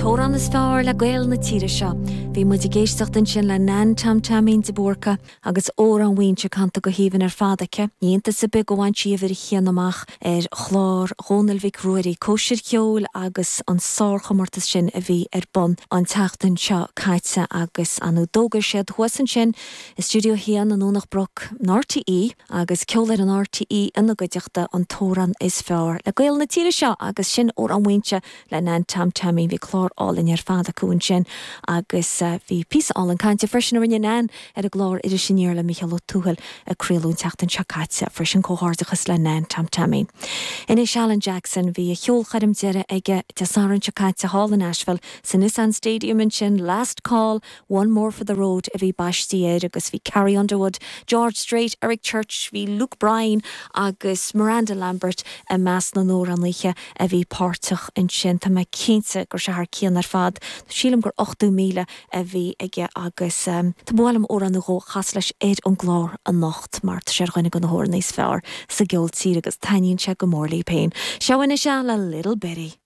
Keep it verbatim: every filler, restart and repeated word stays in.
An t-amhrán is fearr le Gaeil na tíre seo. Bhí muid ag éisteacht ansin le Nan Tom Taimín de Búrca agus Amhrán Mhaínse canta go haoibhinn ar fad aici. Ní hiontas ar bith gur bhain sí uimhir a haon amach ar chlár Dhónaill Mhic Ruairí Cóisir Cheoil agus an sárchomórtas sin a bhí ar bun an tseachtain seo caite agus an d'fhógair siad thuas ansin i Studio haon i nDomhnach Broc in RTÉ agus ceol ar an RTÉ ina gcuideachta an t-amhrán is fearr le Gaeil na tíre seo agus sin Amhrán Mhaínse le Nan Tom Taimín bhí clár álainn ar fad acu ansin agus uh, bhí píosa álainn cainte freisin a rinne Nan ar an gclár Iris Aniar le Micheál Ó Tuathail a craoladh an tseachtain seo caite freisin comhghairdeachas le Nan Tom Taimín. Anois Alan Jackson bhí a cheolchoirm deiridh aige Dé Sathairn seo caite thall in Nashville sa Nissan Stadium ansin last call one more for the road a bhí baiste air agus bhí Carrie Underwood, George Strait, Eric Church, bhí Luke Bryan agus Miranda Lambert i measc na n-amhránaithe a bhí páirteach ansin Tá mé cinnte go raibh sé thar cionn ar fad. Sílim gur ochtó míle a bhí aige agus um, Tá bhil órán go chas leis ar an gclár anocht mar tá sé ar dhuine de na hamhránaithe is fearr sa gceol tíre agus taitníonn sé go mór liom féin. Seo anois le Little Betty.